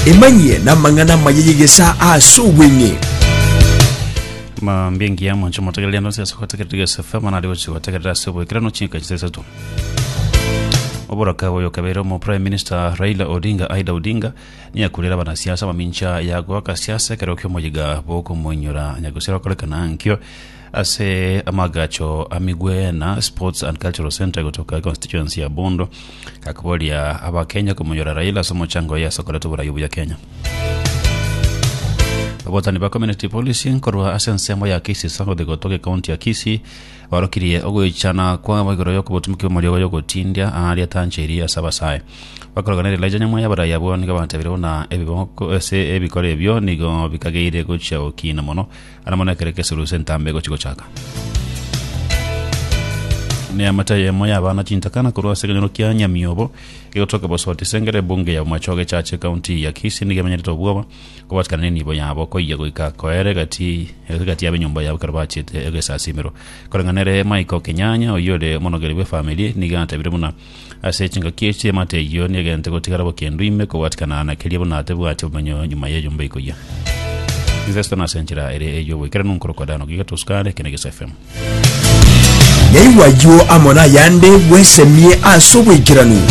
Emanyie namang'ana amaya y'egesaa ase obweng'e. Mambia engiya mwanche omotegereri ande onsi ase ogotegerera Gesa FM nari gochia gotegerera ase oboikeranu chinka chinsa isato. Oboraka oyo kabeire omo Prime Minister Raila Odinga Aida Odinga niyakurera abanasiasa amamincha ya goaka siasa ekero kiomoyiga bokomoinyora nyagusira okorekana ankio Ase amagacho a Migwena Sports and Cultural Centre gotoka constituency ya Bondo gakoboria abakenya komonyora Raila ase omochango oye ase okoreta oborai obuya Kenya. Abotani ba community policing korwa ase ensemo ya Kisii South gotoka ekaunti ya Kisii barokirie ogoichana kwabo igoro yokobotumiki bw'amariogo yogotindia aaria tancheiri ase abasae. Bakorogana Elijah Nyamweya abarai abwo nigo batebire buna ebiboko ase ebikoro ebio nigo bikageire gochia gokina mono Ara mono ekero ekesurusu entambe egochia gochaka. Neamate eyemo y'abana chintakana korwa ase ekenyoro kia Nyamiobo egotoka Bosoti Sengere ebunge ya Bomachoge Chache ekaunti ya Kisii nigo emenyerete obwoba kobatikana nenibo yabo koyia goika koera egati egati yabo enyomba yabo ekero bachiete egesasimero. Koreng'ana ere Michael Kenyanya oyio ore omonogeri bw'efamiri nigo atebire buna ase chingaki echi eamate eyio niegente gotigara bokendu ime kobwatikana na keria buna tebwati obomenyo nyuma y'enyomba ekoyia. Investo ase enchera ere ey'oboikeranu nkorokwa Dan Ogiga Tosukare, eke ne Gesa FM. Yaigwa ayio amo nayande bwesemie ase oboikeranu.